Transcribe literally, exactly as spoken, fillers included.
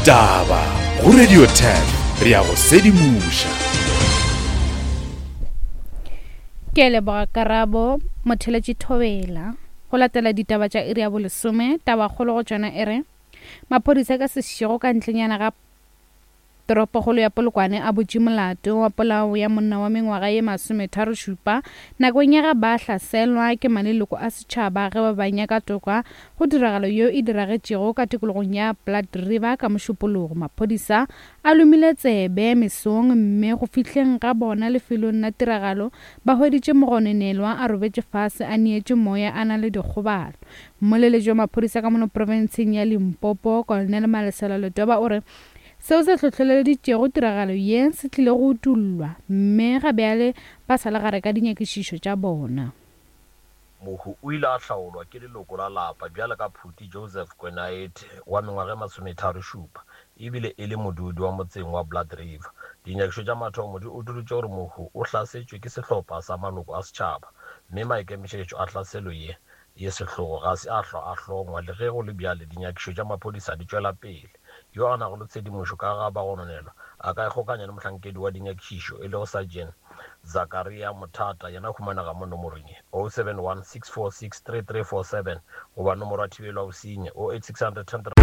Ditaba go Radio ten, re a go sedimoša. Ke a leboga Karabo Motheletši Thobela. Go latela ditaba tša iri ya bolesome, tabakgolo go tšona e re maphodisa ka sešego ka ntlenyana ga toropokgolo ya Polokwane a butše molato wa polao ya monna wa mengwaga ye masometharo-šupa nakong ya ge ba hlaselwa ke maleloko a setšhaba ge ba ba nyaka toka go tiragalo yeo e diragetšego ka tikologong ya Blood River ka Mošupologo. Maphodisa a lomile tsebe mesong mme go fihleng ga bona lefelong la tiragalo ba hweditše mogononelwa a robetše fase a neetše moya a na le dikgobalo. Mmoleletši wa maphodisa ka mono profenseng ya Limpopo, Colonel Malesela Letoba o re seo se hlohleleditšego tiragalo ye se tlile go utollwa mme ga bjale ba sa le gare ka dinyakišišo tša bona. Mohu o ile a hlaolwa ke leloko la lapa bjalo ka Phuti Joseph Kwenaethe wa mengwaga e masometharo-šupa ebile e le modudi wa motseng wa Blood River. Dinyakišo tša mathomo di utolotše gore mohu o hlasetšwe ke sehlopha sa maloko a setšhaba mme maikemišetšo a hlaselo ye ye sehlogo ga se a hlwa a hlongwa. Le ge go le bjale, dinyakišo tša maphodisa di tšwela pele. Yo a nago le tshedimošo ka ga bagononelwa a ka ikgokanya le mohlankedi wa dinyakišišo e lego Sergeant Zakaria Mothata, yena o humanega mo nomorong ye oh seven one, six four six, three three four seven goba nomoro ya thibelo ya bosenyi oh eight six hundred ten